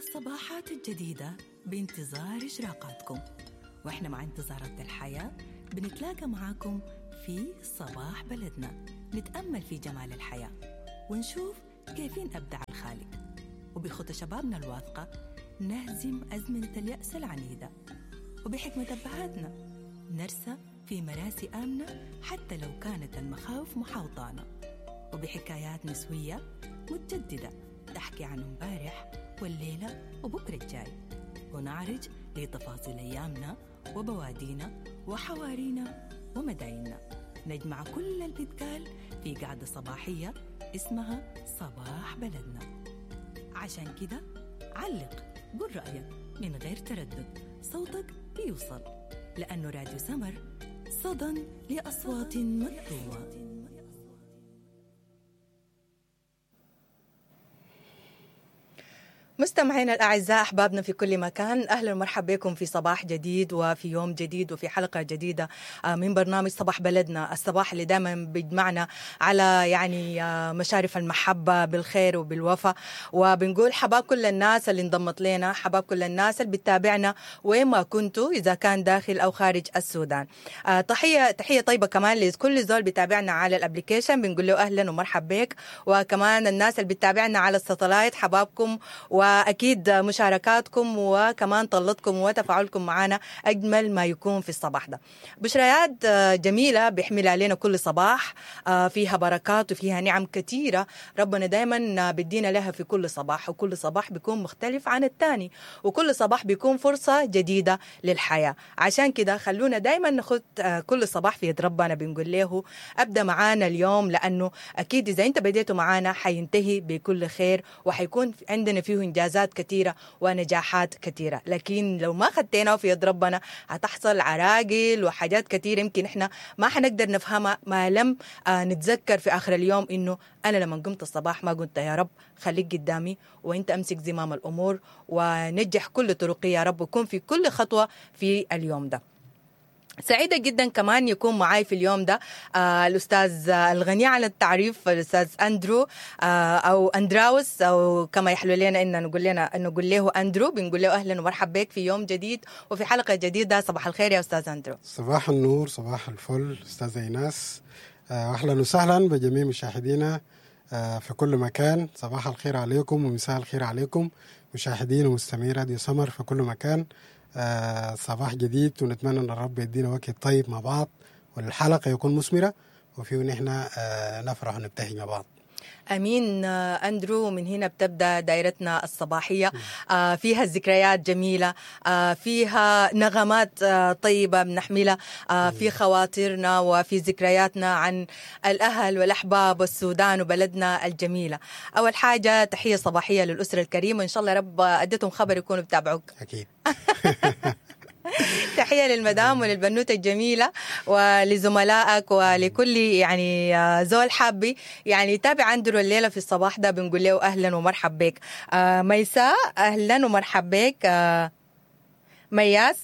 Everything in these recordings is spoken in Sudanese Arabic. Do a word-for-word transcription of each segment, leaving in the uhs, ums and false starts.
الصباحات الجديدة بانتظار إشراقاتكم، وإحنا مع انتظارات الحياة بنتلاقى معاكم في صباح بلدنا، نتأمل في جمال الحياة ونشوف كيفين أبدع الخالق، وبخطى شبابنا الواثقة نهزم أزمنة اليأس العنيدة، وبحكمة أبهاتنا نرسى في مراسي آمنة حتى لو كانت المخاوف محاوطانا، وبحكايات نسوية متجددة تحكي عن امبارح والليلة وبكرة الجاي، ونعرج لتفاصيل أيامنا وبوادينا وحوارينا ومدايننا. نجمع كل اللي بيتقال في قعدة صباحية اسمها صباح بلدنا. عشان كده علق، قول رأيك من غير تردد، صوتك بيوصل، لأنه راديو سمر صدى لأصوات مكتومة. مستمعينا الأعزاء، أحبابنا في كل مكان، أهلا ومرحبا بكم في صباح جديد وفي يوم جديد وفي حلقة جديدة من برنامج صباح بلدنا، الصباح اللي دائما بيجمعنا على يعني مشارف المحبة بالخير وبالوفاء. وبنقول حباب كل الناس اللي انضمت لنا، حباب كل الناس اللي بتتابعنا وين ما كنتوا، إذا كان داخل أو خارج السودان. تحية تحية طيبة كمان لكل زول بيتابعنا على ال application، بنقول له أهلا ومرحبا بك. وكمان الناس اللي بتتابعنا على ال satellite، حبابكم وأكيد مشاركاتكم وكمان طلتكم وتفاعلكم معنا أجمل ما يكون في الصباح ده. بشريات جميلة بيحملها علينا كل صباح، فيها بركات وفيها نعم كثيرة ربنا دايما بدينا لها في كل صباح، وكل صباح بيكون مختلف عن الثاني، وكل صباح بيكون فرصة جديدة للحياة. عشان كده خلونا دايما ناخد كل صباح في يد ربنا، بنقول له أبدأ معانا اليوم، لأنه أكيد إذا أنت بديته معانا حينتهي بكل خير وحيكون عندنا فيه إنجازات كثيرة ونجاحات كثيرة. لكن لو ما خدتينا في يد ربنا هتحصل عراقل وحاجات كثيرة يمكن إحنا ما حنقدر نفهمها ما لم نتذكر في آخر اليوم إنه أنا لما قمت الصباح ما قلت يا رب خليك قدامي وإنت أمسك زمام الأمور ونجح كل طرقي يا رب، وكون في كل خطوة في اليوم ده. سعيدة جدا كمان يكون معاي في اليوم ده آه الأستاذ الغني عن التعريف، الأستاذ أندرو آه أو أندراوس، أو كما يحلو لنا إن نقول لنا نقول له أندرو. بنقول له أهلا ومرحبا بك في يوم جديد وفي حلقة جديدة. صباح الخير يا أستاذ أندرو. صباح النور، صباح الفل أستاذ إيناس، أهلا وسهلا بجميع مشاهدينا في كل مكان. صباح الخير عليكم ومساء الخير عليكم مشاهدين ومستمعي راديو سمر في كل مكان. آه صباح جديد، ونتمنى ان الرب يدينا وقت طيب مع بعض، والحلقة يكون مثمرة وفيه نحن آه نفرح ونبتهج مع بعض. أمين أندرو. من هنا بتبدأ دائرتنا الصباحية، آه فيها الذكريات جميلة، آه فيها نغمات آه طيبة بنحملها، آه في خواطرنا وفي ذكرياتنا عن الأهل والأحباب والسودان وبلدنا الجميلة. أول حاجة تحية صباحية للأسرة الكريمة، إن شاء الله رب أديتهم خبر يكونوا بتابعوك أكيد. تحية للمدام وللبنوتة الجميلة ولزملائك ولكل يعني زول حابي يعني يتابع أندرو الليلة في الصباح ده، بنقول له أهلا ومرحب بك. ميساء أهلا ومرحب بك. مياس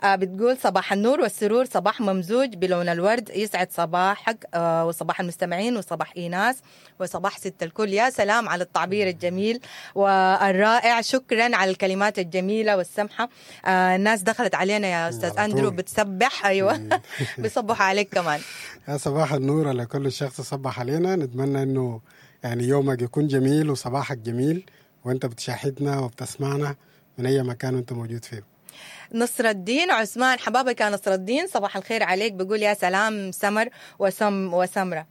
بتقول صباح النور والسرور، صباح ممزوج بلون الورد، يسعد صباحك وصباح المستمعين وصباح إيناس وصباح ست الكل. يا سلام على التعبير الجميل والرائع، شكرا على الكلمات الجميلة والسمحة. الناس دخلت علينا يا أستاذ أندرو بتسبح، أيوة بيصبح عليك كمان. يا صباح النور على كل شخص صبح علينا، نتمنى أنه يعني يومك يكون جميل وصباحك جميل وأنت بتشاهدنا وبتسمعنا من أي مكان وأنت موجود فيه. نصر الدين عثمان، حبابك يا نصر الدين، صباح الخير عليك. بقول يا سلام سمر وسم وسمرة.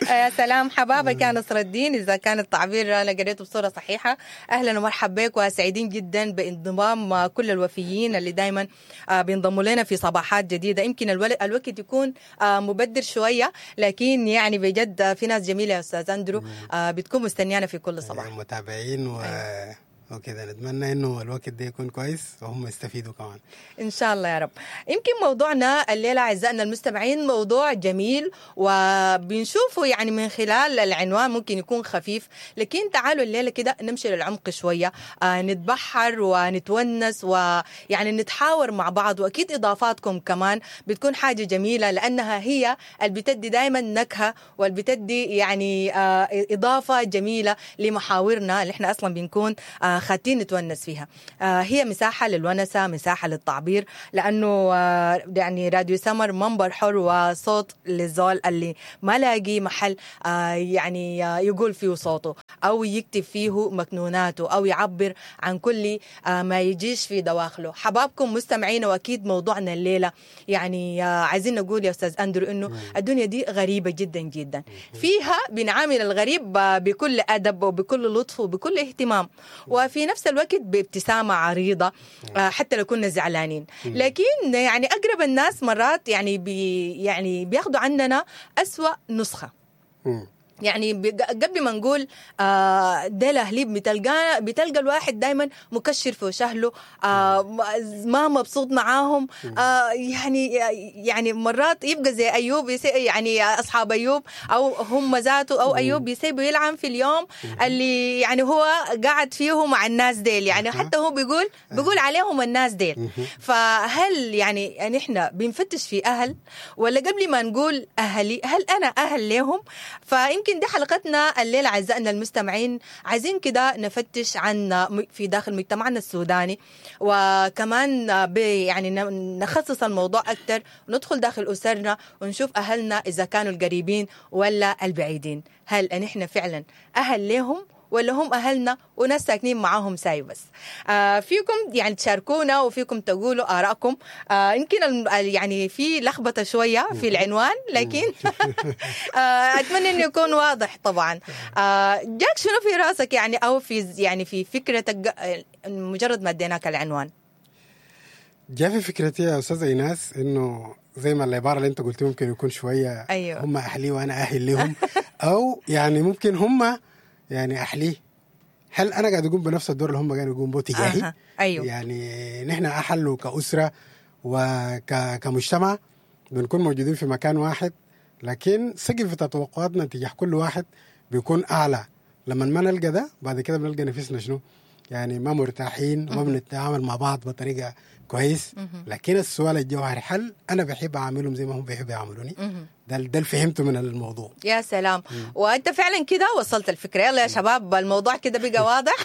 يا سلام حبابك يا نصر الدين، إذا كان التعبير أنا قريته بصورة صحيحة. أهلا ومرحبا بك، وسعيدين جدا بانضمام كل الوفيين اللي دايما بينضموا لنا في صباحات جديدة. يمكن الوقت يكون مبدر شوية، لكن يعني بجد في ناس جميلة يا أستاذ أندرو بتكون مستنيانا في كل صباح، متابعين و أيوة. وكده نتمنى انه الوقت ده يكون كويس وهم يستفيدوا كمان ان شاء الله يا رب. يمكن موضوعنا الليلة اعزائنا المستمعين موضوع جميل، وبنشوفه يعني من خلال العنوان ممكن يكون خفيف، لكن تعالوا الليلة كده نمشي للعمق شوية، آه نتبحر ونتونس ويعني نتحاور مع بعض، واكيد اضافاتكم كمان بتكون حاجة جميلة لانها هي اللي بتدي دائما نكهة واللي بتدي يعني آه اضافه جميلة لمحاورنا اللي احنا اصلا بنكون آه خاتين نتونس فيها. آه هي مساحة للونسه، مساحة للتعبير، لانه آه يعني راديو سمر منبر حر وصوت للزول اللي ما لاقي محل آه يعني آه يقول فيه صوته او يكتب فيه مكنوناته او يعبر عن كل آه ما يجيش في دواخله. حبابكم مستمعين، واكيد موضوعنا الليلة يعني آه عايزين نقول يا استاذ اندرو انه الدنيا دي غريبة جدا جدا، فيها بنعامل الغريب بكل ادب وبكل لطف وبكل اهتمام، وفي نفس الوقت بابتسامة عريضة حتى لو كنا زعلانين. لكن يعني اقرب الناس مرات يعني بي يعني بياخدوا عننا أسوأ نسخه. يعني قبل ما نقول آه ده الاهليب، بتلقى بتلقى الواحد دائما مكشر في وشهله، آه ما مبسوط معاهم، آه يعني يعني مرات يبقى زي ايوب، يعني اصحاب ايوب او هم ذاته او ايوب يسيبوا يلعن في اليوم اللي يعني هو قاعد فيه مع الناس ديل، يعني حتى هو بيقول بيقول عليهم الناس ديل. فهل يعني نحن بنفتش في اهل، ولا قبل ما نقول اهلي هل انا اهل لهم؟ فيمكن دي حلقتنا الليلة أعزائنا المستمعين، عايزين كده نفتش عن في داخل مجتمعنا السوداني، وكمان يعني نخصص الموضوع أكثر وندخل داخل أسرنا ونشوف أهلنا إذا كانوا القريبين ولا البعيدين، هل نحن فعلا أهل لهم ولا هم أهلنا وناس ساكنين معاهم ساي بس؟ آه فيكم يعني تشاركونا وفيكم تقولوا آرائكم. آه يمكن يعني في لخبطة شوية في العنوان، لكن آه أتمنى إنه يكون واضح طبعا. آه جاك شنو في راسك يعني، أو في يعني في فكرتك مجرد ما اديناك العنوان؟ جاء في فكرتي يا أستاذة إيناس إنه زي ما العبارة اللي أنت قلتي ممكن يكون شوية، أيوة. هم أهلي وأنا أهل لهم، أو يعني ممكن هم يعني أحليه. هل أنا قاعد أقوم بنفس الدور اللي هم قاعدين يقوموا به تجاهي؟ أه. أيوه. يعني نحن أحل كأسرة وكمجتمع بنكون موجودين في مكان واحد، لكن سقف توقعاتنا تجاه كل واحد بيكون أعلى. لما ما نلقى ده بعد كده بنلقى نفسنا شنو؟ يعني ما مرتاحين وما بنتعامل مع بعض بطريقة كويس. لكن السؤال الجوهري، هل أنا بحب أعاملهم زي ما هم بيحبوا يعاملوني؟ ده ده اللي فهمته من الموضوع. يا سلام. مم. وأنت فعلا كده وصلت الفكرة. يلا يا شباب الموضوع كده بقى واضح.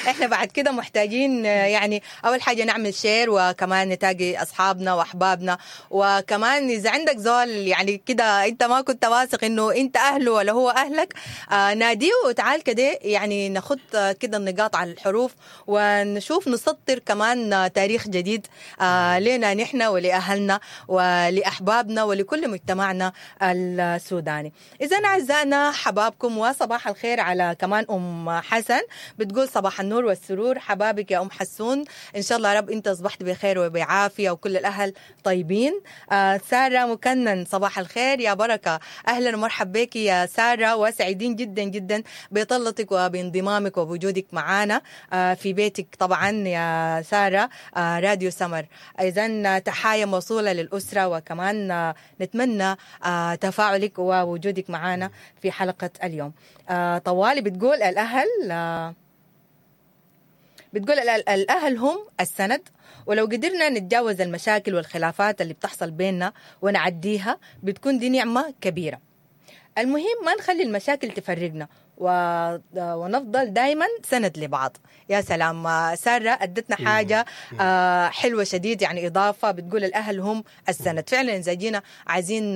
احنا بعد كده محتاجين يعني أول حاجة نعمل share، وكمان نتاقي أصحابنا وأحبابنا، وكمان إذا عندك زول يعني كده أنت ما كنت واثق إنه أنت أهله ولا هو أهلك، آه ناديه وتعال كده يعني ناخد كده النقاط على الحروف ونشوف نسطر كمان تاريخ جديد آه لنا نحن ولأهلنا ولأحبابنا ولكل مجتمعنا السوداني. إذا أعزائنا حبابكم، وصباح الخير على كمان أم حسن بتقول صباح النور والسرور، حبابك يا أم حسون، إن شاء الله رب أنت أصبحت بخير وبعافية وكل الأهل طيبين. آه سارة مكنن صباح الخير يا بركة، أهلا ومرحبا بك يا سارة، وسعيدين جدا جدا بطلتك وبانضمامك وبوجودك معنا آه في بيتك طبعا يا سارة، آه راديو سمر. إذن تحايا موصولة للأسرة، وكمان آه نتمنى آه تفاعلك ووجودك معنا في حلقة اليوم. آه طوالي بتقول الأهل، آه بتقول الأهل هم السند، ولو قدرنا نتجاوز المشاكل والخلافات اللي بتحصل بيننا ونعديها بتكون دي نعمة كبيرة. المهم ما نخلي المشاكل تفرقنا ونفضل دايما سند لبعض. يا سلام، سارة أدتنا حاجة حلوة شديد، يعني إضافة، بتقول الأهل هم السند. فعلا إذا جينا عايزين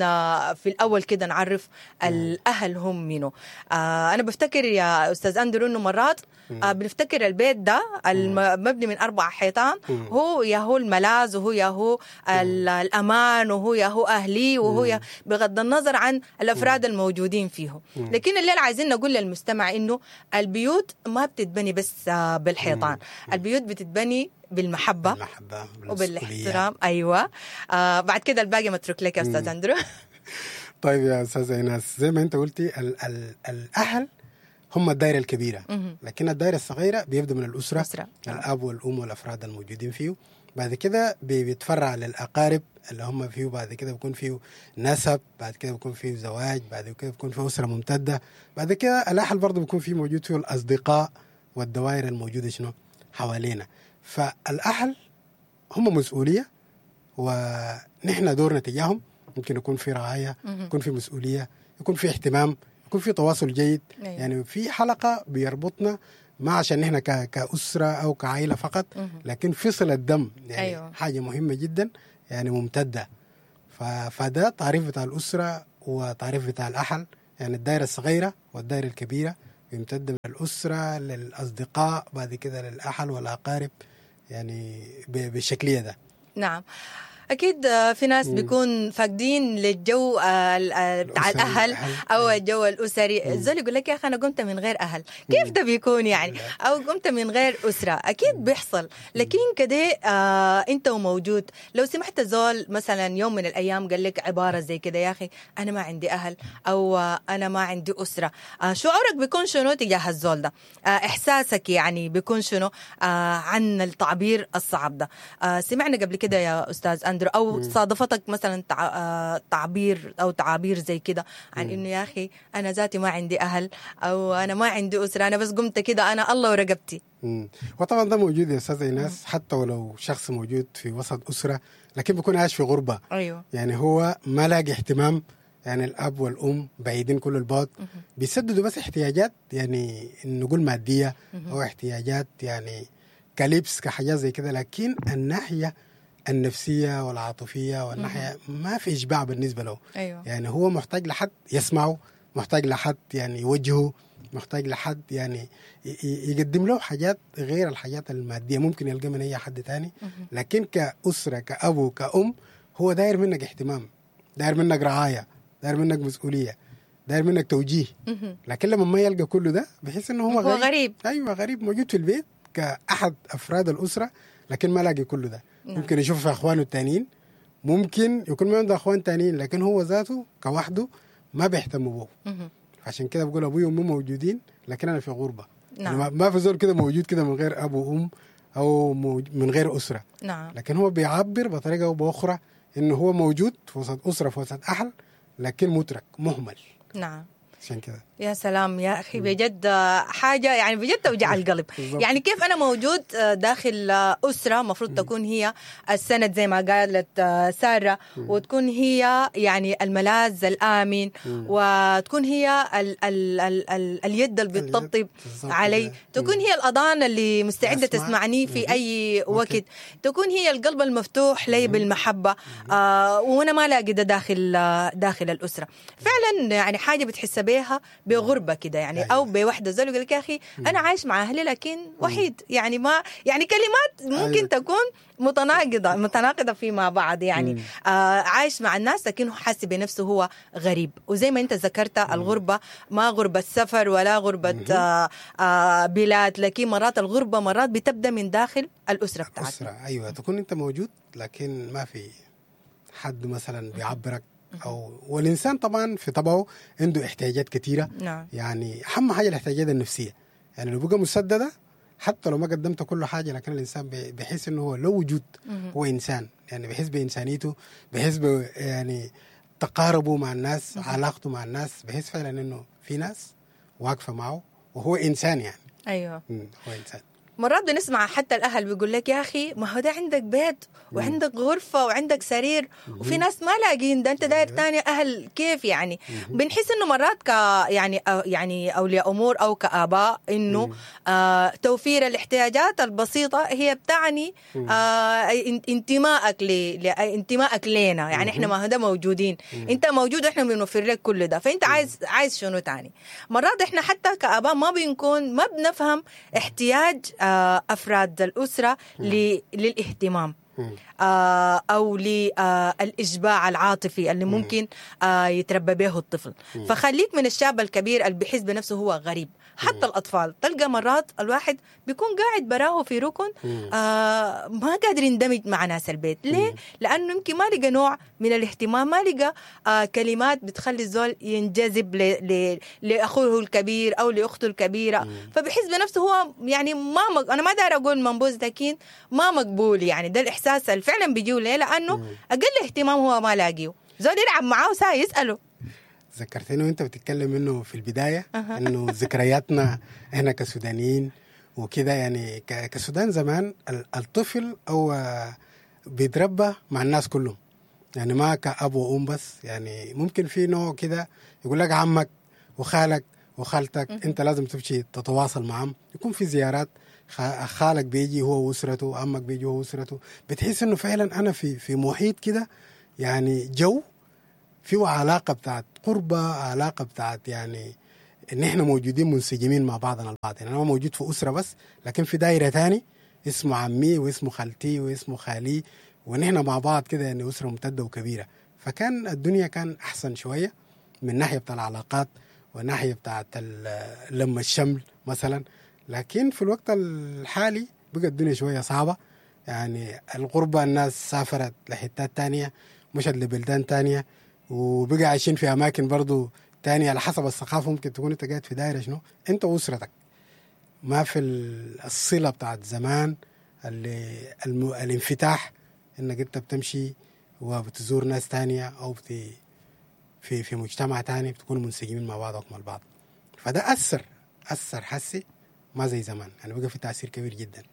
في الأول كده نعرف الأهل هم منو. أنا بفتكر يا أستاذ أندرو إنه مرات بنفتكر البيت ده المبني من أربع حيطان هو يا هو الملاذ، وهو يا هو الأمان، وهو يا هو أهلي، وهو يا بغض النظر عن الأفراد الموجودين فيه. لكن الليلة عايزين نقول للمستمع إنه البيوت ما بتتبني بس بالحيطان، البيوت بتتبني بالمحبة، بالمحبة وبالاحترام. أيوة. آه بعد كده الباقي متروك لك يا أستاذ أندرو. طيب يا أستاذة إيناس، زي ما أنت قلتي ال ال الأهل هم الدائرة الكبيرة، مهم. لكن الدائرة الصغيرة بيبدا من الاسرة، أسرة. نعم. الاب والام والافراد الموجودين فيه. بعد كده بي- بيتفرع للاقارب اللي هم فيه، بعد كده بيكون فيه نسب، بعد كده بيكون فيه زواج، بعد كده بيكون فيه اسره ممتدة، بعد كده الاهل برضه بيكون فيه موجود فيه الاصدقاء والدوائر الموجودة شنو حوالينا. فالاهل هم مسؤولية، ونحن دورنا تجاههم ممكن يكون في رعاية، مهم. يكون في مسؤولية، يكون في اهتمام، يكون في تواصل جيد. أيوة. يعني في حلقة بيربطنا ما عشان نحن ك- كأسرة أو كعائلة فقط، مهم. لكن في صلة دم يعني أيوة. حاجة مهمة جدا يعني ممتدة. ف... فده تعريف بتاع الأسرة وتعريف بتاع الأهل، يعني الدائرة الصغيرة والدائرة الكبيرة بيمتد من الأسرة للأصدقاء، بعد كده للأهل والأقارب، يعني ب... بالشكلية ده. نعم اكيد. آه، في ناس بيكون فاقدين للجو آه، ال- آه، بتاع الأسري، الاهل الأهل. او الجو الاسري. الزول يقول لك يا اخي انا قمت من غير اهل، كيف ده بيكون يعني؟ او قمت من غير اسره، اكيد بيحصل. لكن كده آه انت وموجود، لو سمحت زول مثلا يوم من الايام قال لك عبارة زي كده، يا اخي انا ما عندي اهل او آه، انا ما عندي اسره، آه شعورك بيكون شنو تجاه الزول ده؟ آه احساسك يعني بيكون شنو آه عن التعبير الصعب ده؟ آه سمعنا قبل كده يا استاذ اندرو او صادفتك مثلا تع... آه تعبير او تعابير زي كده عن انه يا اخي انا ذاتي ما عندي اهل او انا ما عندي اسره، انا بس قمت كده انا الله ورقبتي. مم. وطبعا ده موجود يا استاذ ايناس، حتى ولو شخص موجود في وسط اسره لكن بيكون عايش في غربه. ايوه يعني هو ما لاقي اهتمام، يعني الاب والام بعيدين كل البعد، بيسددوا بس احتياجات يعني نقول مادية او احتياجات يعني كلبس كحاجات زي كده، لكن الناحية النفسية والعاطفيه والناحية ما في اشباع بالنسبة له. ايوه يعني هو محتاج لحد يسمعه، محتاج لحد يعني يوجهه، محتاج لحد يعني ي- ي- يقدم له حاجات غير الحاجات المادية ممكن يلقى من أي حد تاني. لكن كأسرة كأبو كأم هو داير منك اهتمام، داير منك رعاية، داير منك مسؤولية، داير منك توجيه. مهم. لكن لما ما يلقى كل ده بحس انه هو هو غريب. غريب. ايوه غريب، موجود في البيت كأحد أفراد الأسرة لكن ما لاقي كل ده. نعم. ممكن يشوف في أخوانه التانيين، ممكن يكون ما عنده أخوان تانيين، لكن هو ذاته كوحده ما بيهتموا به. مهم. عشان كده بقول ابوي وامي موجودين لكن انا في غربه. نعم. يعني ما- ما في زول كده موجود كده من غير اب وام او موج- من غير اسره، نعم لكن هو بيعبر بطريقة او باخرى انه هو موجود في وسط اسره في وسط اهل، لكن مترك مهمل. نعم عشان كده يا سلام يا اخي، بجد حاجة يعني بجد توجع القلب. بالضبط. يعني كيف انا موجود داخل اسره المفروض تكون هي السند زي ما قالت ساره، وتكون هي يعني الملاذ الامن، وتكون هي ال ال ال ال اليد اللي اليد. بتطبطب بالضبط علي، كده. تكون هي الاذان اللي مستعدة أسمع. تسمعني في مم. اي أوكي. وقت، تكون هي القلب المفتوح لي بالمحبة. آه وانا ما لاقي ده داخل آه، داخل الاسرة. فعلا يعني حاجة بتحس بيها بغربه كده يعني، أيوة. او بوحده. زي يقول لك يا اخي انا عايش مع اهلي لكن وحيد، يعني ما يعني كلمات ممكن أيوة. تكون متناقضة متناقضة فيما بعض يعني. آه عايش مع الناس لكن هو حاسس بنفسه هو غريب. وزي ما انت ذكرت الغربة ما غربه سفر ولا غربه آه آه بلاد، لكن مرات الغربة مرات بتبدا من داخل الاسرة بتاعتنا. اسره، ايوه، تكون انت موجود لكن ما في حد مثلا بيعبرك او والانسان طبعا في طبعه عنده احتياجات كثيرة. نعم يعني اهم حاجة الاحتياجات النفسية، يعني لو بقى مسددة حتى لو ما قدمت كل حاجة، لكن الانسان بي- بيحس انه هو لو وجود هو انسان، يعني بيحس بانسانيته، بيحس ب يعني تقاربه مع الناس، علاقته مع الناس، بيحس فعلا انه في ناس واقفة معه وهو انسان يعني. ايوه مم، هو انسان. مرات بنسمع حتى الاهل بيقول لك يا اخي ما هو ده عندك بيت وعندك غرفة وعندك سرير وفي ناس ما لاقين ده، انت داير تاني اهل كيف يعني؟ بنحس انه مرات ك يعني أو يعني اولياء امور او كاباء انه آه توفير الاحتياجات البسيطة هي بتعني آه ان- انتمائك ل ل- انتمائك لنا يعني، احنا ما هو ده موجودين، انت موجود واحنا بنوفر لك كل ده، فانت عايز عايز شنو تاني؟ مرات احنا حتى كاباء ما بنكون ما بنفهم احتياج آه، افراد الاسرة ل- للاهتمام مم. آه، او للاشباع العاطفي اللي ممكن آه، يتربى به الطفل. فخليك من الشاب الكبير اللي بيحس بنفسه هو غريب، حتى الاطفال تلقى مرات الواحد بيكون قاعد براه في ركن آه، ما قادر يندمج مع ناس البيت. ليه؟ لانه يمكن ما لقى نوع من من الاهتمام، ما لقى آه كلمات بتخلي الزول ينجذب ل... ل... لاخوه الكبير او لاخته الكبيرة. فبحس بنفسه هو يعني ما مق... انا ما داير اقول منبوذ، لكن ما مقبول. يعني ده الاحساس اللي فعلا بيجيه ليه؟ لانه اقل اهتمام هو ما لاقيه، زول يلعب معاه وساي يساله. ذكرتني وانت بتتكلم انه في البداية انه ذكرياتنا احنا كسودانيين وكده، يعني كسودان زمان الطفل او بيتربى مع الناس كلهم، يعني ما كأب وأم بس، يعني ممكن في نوع كده يقول لك عمك وخالك وخالتك انت لازم تمشي تتواصل معهم، يكون في زيارات، خالك بيجي هو واسرته، عمك بيجي هو واسرته، بتحس انه فعلا انا في في محيط كده، يعني جو فيه علاقة بتاعت قربة، علاقة بتاعت يعني ان احنا موجودين منسجمين مع بعضنا البعض. يعني انا ما موجود في اسره بس، لكن في دايرة تاني اسمه عمي واسمه خالتي واسمه خالي، ونحن مع بعض كده، يعني اسره ممتدة وكبيره. فكان الدنيا كان احسن شوية من ناحية بتاع العلاقات وناحية بتاعت لما الشمل مثلا. لكن في الوقت الحالي بقى الدنيا شوية صعبة، يعني الغربة، الناس سافرت لحتات تانية، مشت لبلدان تانية، وبقى عايشين في اماكن برضو تانية على حسب الثقافة. ممكن تكون انت قاعد في دايرة شنو انت واسرتك، ما في الصلة بتاعت زمان اللي الم... الانفتاح، انك انت بتمشي وبتزور ناس تانية او بت... في في مجتمع تاني، بتكونوا منسجمين مع بعضكم البعض. فده اثر اثر حسي ما زي زمان، يعني بقى في تاثير كبير جدا.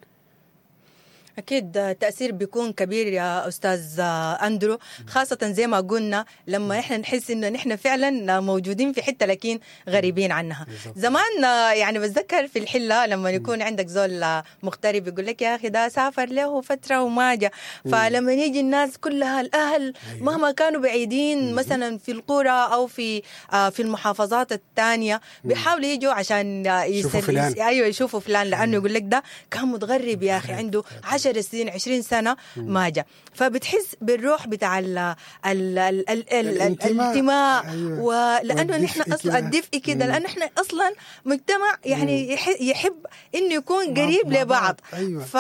أكيد التأثير بيكون كبير يا أستاذ أندرو، خاصة زي ما قلنا لما إحنا نحس إنه نحن فعلا موجودين في حتة لكن غريبين عنها. زمان يعني بتذكر في الحلة لما يكون عندك زول مغترب يقول لك يا أخي ده سافر له فترة وما جا، فلما يجي الناس كلها الأهل مهما كانوا بعيدين مثلا في القرى أو في في المحافظات الثانية بيحاولوا يجوا عشان يشوفوا فلان. أيوة يشوفوا فلان، لأنه يقول لك ده كان متغرب يا أخي عنده عشر سنين عشرين سنة ما جا. فبتحس بالروح بتاع ال ال ال ال ال الانتماء. أيوة. ولأنه نحن أصلا الدفء كده، لأنه نحن أصلا مجتمع يعني يحب إنه يكون قريب لبعض. أيوة. ف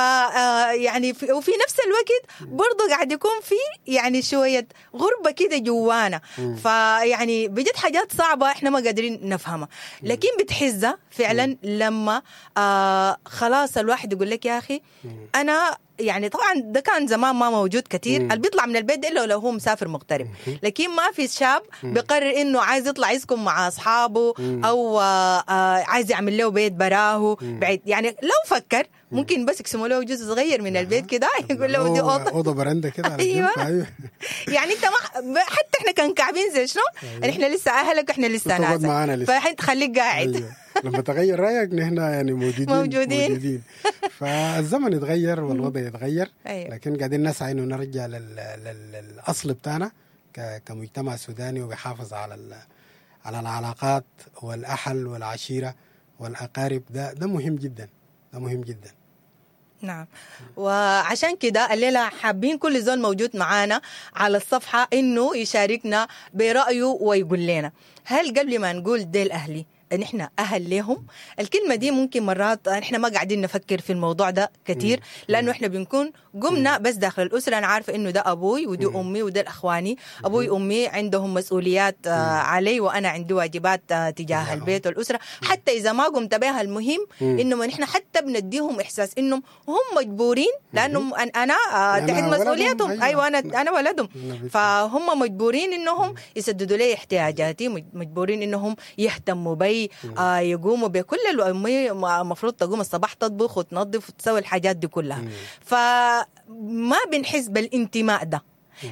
يعني في وفي نفس الوقت برضو قاعد يكون في يعني شوية غربة كده جوانا. فيعني بجد حاجات صعبة إحنا ما قادرين نفهمها، لكن بتحزها فعلا لما آه خلاص الواحد يقول لك يا أخي أنا يعني طبعا ده كان زمان ما موجود كثير، اللي بيطلع من البيت الا لو هو مسافر مغترب، لكن ما في شاب بيقرر انه عايز يطلع يسكن مع اصحابه او عايز يعمل له بيت براه بعيد. يعني لو فكر ممكن بس يقسموا له جزء صغير من البيت كده، يقول له دي اوضة اوضة برندة كده. ايوه يعني انت ما حتى احنا كان كعبين زي شنو، احنا لسه اهلك واحنا لسه ناس، فانت خليك قاعد. أيوة. لما تغير رايك نحن يعني موجودين موجودين, موجودين. فالزمن يتغير والوضع يتغير. أيوة. لكن قاعدين نسعى انه نرجع لل... لل... للاصل بتاعنا ك... كمجتمع سوداني، وبيحافظ على ال... على العلاقات والاهل والعشيره والاقارب. ده ده مهم جدا، ده مهم جدا. نعم، وعشان كده الليلة حابين كل زول موجود معانا على الصفحة إنه يشاركنا برأيه ويقول لنا هل قبل ما نقول ديل أهلي نحن أهل لهم؟ الكلمة دي ممكن مرات نحن ما قاعدين نفكر في الموضوع ده كتير، لأنه إحنا بنكون قمنا بس داخل الأسرة. أنا عارفة إنه ده أبوي ودي أمي وده الأخواني، أبوي وأمي عندهم مسؤوليات علي وأنا عندي واجبات تجاه البيت والأسرة، حتى إذا ما قمت بها المهم إنه نحن حتى بنديهم إحساس إنهم هم مجبورين، لأنهم أنا تحت مسؤوليتهم. أيوة أنا أنا ولدهم، فهم مجبورين إنهم يسددوا لي احتياجاتي، مجبورين إنهم يهتموا بي، آه يقوموا بكل الأمي المفروض تقوم الصباح تطبخ وتنظف وتسوي الحاجات دي كلها. فما بنحس بالانتماء ده.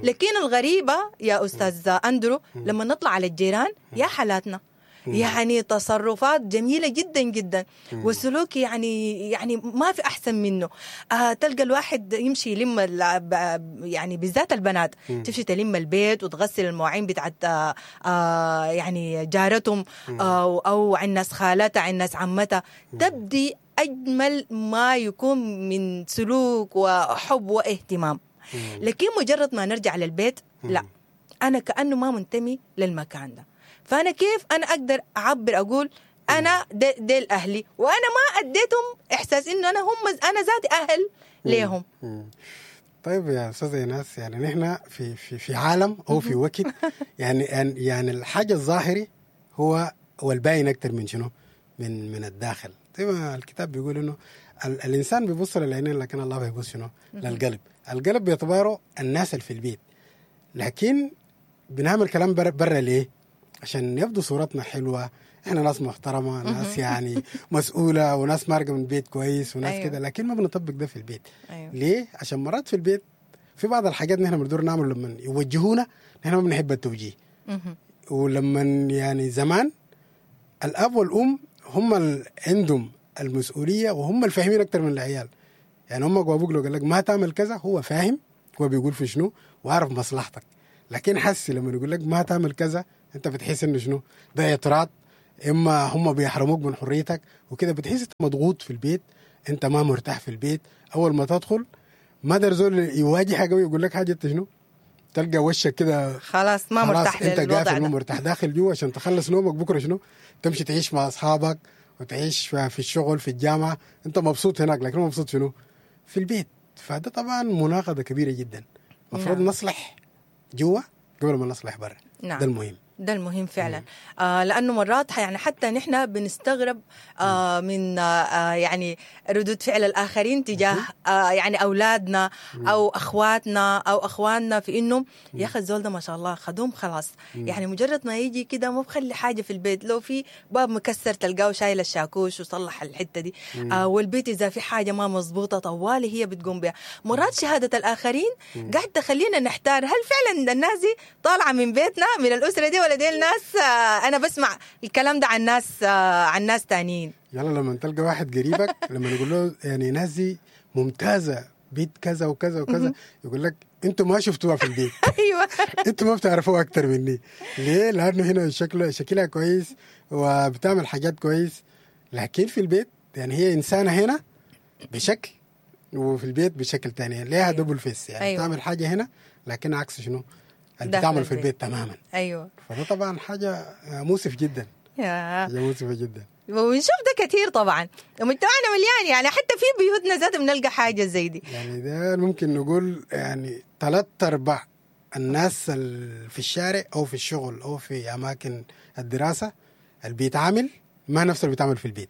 لكن الغريبة يا أستاذ أندرو لما نطلع على الجيران يا حالاتنا، يعني تصرفات جميلة جدا جدا وسلوك يعني يعني ما في أحسن منه. آه تلقى الواحد يمشي يلم يعني بالذات البنات تمشي تلم البيت وتغسل المواعين بتاعت آه آه يعني جارتهم آه أو عن ناس خالتها عن ناس عمتها. تبدي أجمل ما يكون من سلوك وحب واهتمام. لكن مجرد ما نرجع للبيت لا، أنا كأنه ما منتمي للمكان ده. فأنا كيف أنا أقدر أعبر أقول أنا ديل أهلي وأنا ما أديتهم إحساس إنه أنا هم أنا ذاتي أهل ليهم؟ طيب يا استاذ ايناس، يعني نحن في في في عالم او في وقت يعني يعني الحاجة الظاهري هو هو الباين اكثر من شنو؟ من من الداخل. زي ما الكتاب بيقول انه ال الانسان بيبص للعينين لكن الله بيبص شنو؟ للقلب. القلب باعتباره الناس اللي في البيت، لكن بنعمل كلام برا بر ليه؟ عشان يبدو صورتنا حلوة، احنا ناس محترمه، ناس يعني مسؤولة، وناس مارقه من بيت كويس، وناس أيوه. كده، لكن ما بنطبق ده في البيت. أيوه. ليه؟ عشان مرات في البيت في بعض الحاجات نحن بندور نعمل لما يوجهونا نحن ما بنحب التوجيه. ولما يعني زمان الاب والام هم اللي عندهم المسؤولية وهم الفاهمين اكثر من العيال. يعني امك وابوك لو قال لك ما تعمل كذا هو فاهم، هو بيقول في شنو وعارف مصلحتك. لكن حسي لما يقول لك ما تعمل كذا انت بتحس انه شنو ده اعتراض، اما هم بيحرموك من حريتك وكده، بتحس انت مضغوط في البيت، انت ما مرتاح في البيت. اول ما تدخل ما در زول يواجهك قوي يقول لك حاجة، انت شنو تلقى وشك كده خلاص ما مرتاح للوضع، انت قافل ما مرتاح داخل جوا عشان تخلص نومك. بكره شنو تمشي تعيش مع اصحابك وتعيش في الشغل في الجامعة، انت مبسوط هناك لكن مبسوط شنو في البيت. فده طبعا مناقضة كبيرة جدا. المفروض نعم. نصلح جوا قبل ما نصلح برا. نعم. ده المهم، ده المهم فعلا. آه لأنه مرات يعني حتى نحن بنستغرب آه من آه يعني ردود فعل الآخرين تجاه آه يعني أولادنا أو أخواتنا أو أخواننا، في إنه يا أخي الزول ده ما شاء الله خدوم خلاص، يعني مجرد ما يجي كده ما بخلي حاجة في البيت، لو في باب مكسر تلقاه شايل الشاكوش وصلح الحتة دي، آه والبيت إذا في حاجة ما مزبوطة طوالي هي بتقوم بها. مرات شهادة الآخرين قاعد تخلينا نحتار، هل فعلا الناس دي طالعة من بيتنا من الأسرة دي ولا دي الناس؟ أنا بسمع الكلام ده عن ناس عن ناس تانيين. يلا لما تلقى واحد قريبك لما نقول له يعني ناس دي ممتازة بيت كذا وكذا وكذا، يقول لك انتوا ما شفتوها في البيت. ايوه انتوا ما بتعرفوها اكتر مني. ليه؟ لانه هنا شكله شكلها كويس وبتعمل حاجات كويس، لكن في البيت يعني هي انسانه هنا بشكل وفي البيت بشكل تاني، ليها أيوة. double face يعني. أيوة. تعمل حاجة هنا لكن عكس شنو اللي بتعمل في البيت تماما. ايوه فده طبعا حاجة مؤسف جدا، حاجة مؤسفة جدا، ونشوف ده كثير طبعا ومجتمعنا مليان، يعني حتى في بيوتنا ذات بنلقى حاجة زي دي. يعني ده ممكن نقول يعني ثلاث ارباع الناس في الشارع او في الشغل او في اماكن الدراسة اللي بيتعامل ما نفسه اللي بيتعامل في البيت.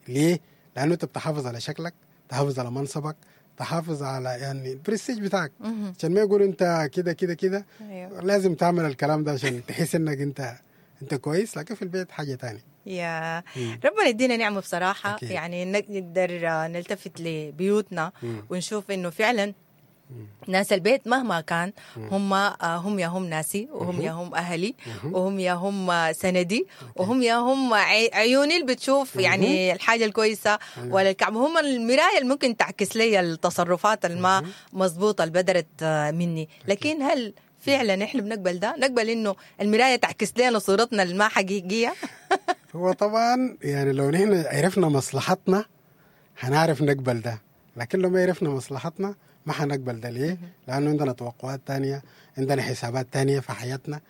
ليه؟ لانه انت بتحافظ على شكلك، تحافظ على منصبك، تحافظ على يعني البرستيج بتاعك، عشان ما يقول انت كده كده كده. أيوة. لازم تعمل الكلام ده عشان تحس انك انت انت كويس، لكن في البيت حاجة تانية. يا ربنا يدينا نعمه بصراحة. أكيد. يعني نقدر نلتفت لبيوتنا مم. ونشوف انه فعلا ناس البيت مهما كان هم هم يا هم ناسي، وهم يا هم أهلي، وهم يا هم سندي، وهم يا هم عيوني اللي بتشوف يعني الحاجة الكويسة ولا الكعب، هم المراية اللي ممكن تعكس لي التصرفات الما مظبوطة اللي بدرت مني. لكن هل فعلا احنا بنقبل ده؟ نقبل انه المراية تعكس لنا صورتنا الما حقيقية؟ هو طبعا يعني لو نحن عرفنا مصلحتنا هنعرف نقبل ده، لكن لو ما عرفنا مصلحتنا ما حنقبل ده. ليه؟ لأنه عندنا توقعات تانية، عندنا حسابات تانية في حياتنا،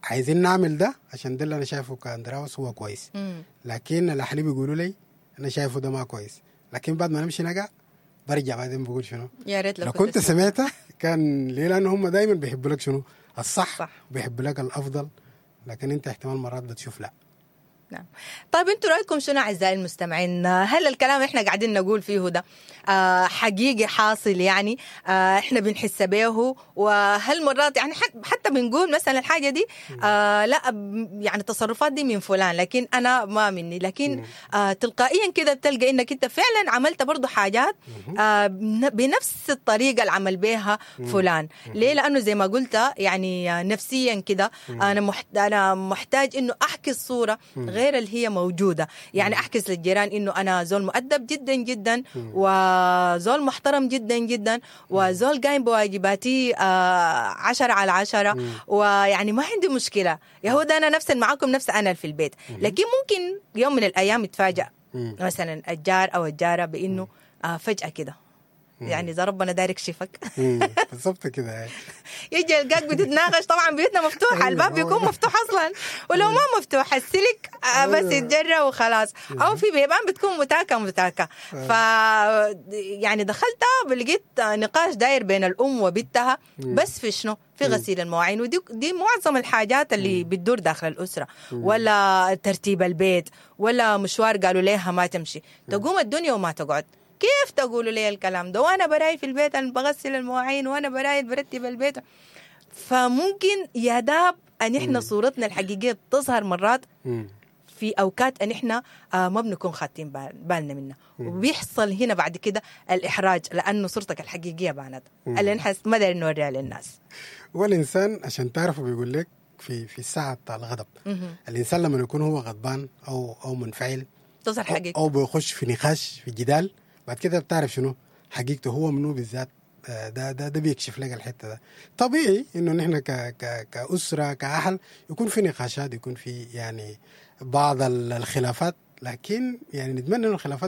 عايزين نعمل ده عشان ده اللي أنا شايفه كأندراوس هو كويس. مم. لكن الأهل بيقولوا لي أنا شايفه ده ما كويس، لكن بعد ما نمشي نقع برجع بعدين بقول شنو؟ يا ريت لو, لو كنت سمعته كان. ليه؟ لأنه هم دايما بيحبوا لك شنو؟ الصح، صح. بيحبوا لك الأفضل، لكن أنت احتمال مرات بتشوف لا. نعم. طيب انتوا رايكم شنو اعزائي المستمعين؟ هل الكلام احنا قاعدين نقول فيه ده آه حقيقي حاصل يعني آه احنا بنحس به؟ وهل مرات يعني حتى بنقول مثلا الحاجة دي آه لا يعني التصرفات دي من فلان لكن انا ما مني، لكن آه تلقائيا كده بتلقى انك انت فعلا عملت برضو حاجات آه بنفس الطريقة اللي عمل بها فلان. ليه؟ لانه زي ما قلت يعني نفسيا كده انا محت... انا محتاج انه احكي الصورة غير اللي هي موجودة، يعني أحكس للجيران إنه أنا زول مؤدب جدا جدا، وزول محترم جدا جدا، وزول قايم بواجباتي عشرة على عشرة، ويعني ما عندي مشكلة، يا هو ده أنا نفس معاكم نفس أنا في البيت. لكن ممكن يوم من الأيام يتفاجأ مثلا الجار أو الجارة بإنه فجأة كده يعني اذا ربنا داير يكشفك مم. بالضبط كده يعني. يجي يلقاك بتتناقش، طبعا بيوتنا مفتوحة، أيوة، الباب بيكون مفتوح اصلا، ولو ما مفتوح السلك آه، بس أيوة. يتجرى وخلاص، او في بيبان بتكون متاكه متاكه. ف يعني دخلت لقيت نقاش داير بين الام وبنتها، بس في شنو؟ في غسيل المواعين، ودي دي معظم الحاجات اللي بتدور داخل الاسرة، ولا ترتيب البيت، ولا مشوار قالوا لها ما تمشي، تقوم الدنيا وما تقعد. كيف تقولوا لي الكلام ده وانا براي في البيت، انا بغسل المواعين وانا براي برتب البيت؟ فممكن يا داب ان احنا صورتنا الحقيقية تظهر مرات مم. في اوقات ان احنا آه ما بنكون خاتين بال- بالنا منها، وبيحصل هنا بعد كده الاحراج لانه صورتك الحقيقية بانت اللي نحن ما دايرين نوريها للناس. والانسان عشان تعرفه بيقول لك في في الساعة بتاع الغضب، الانسان لما يكون هو غضبان او او منفعل تظهر أو, حقيقة. او بيخش في نقاش في جدال، بعد كده بتعرف شنو حقيقته هو منو بالذات. آه، ده ده ده بيكشف لك الحتة ده. طبيعي انه نحن ك ك كاسره كاهل يكون في نقاشات، يكون في يعني بعض ال- الخلافات، لكن يعني نتمنى انه الخلافات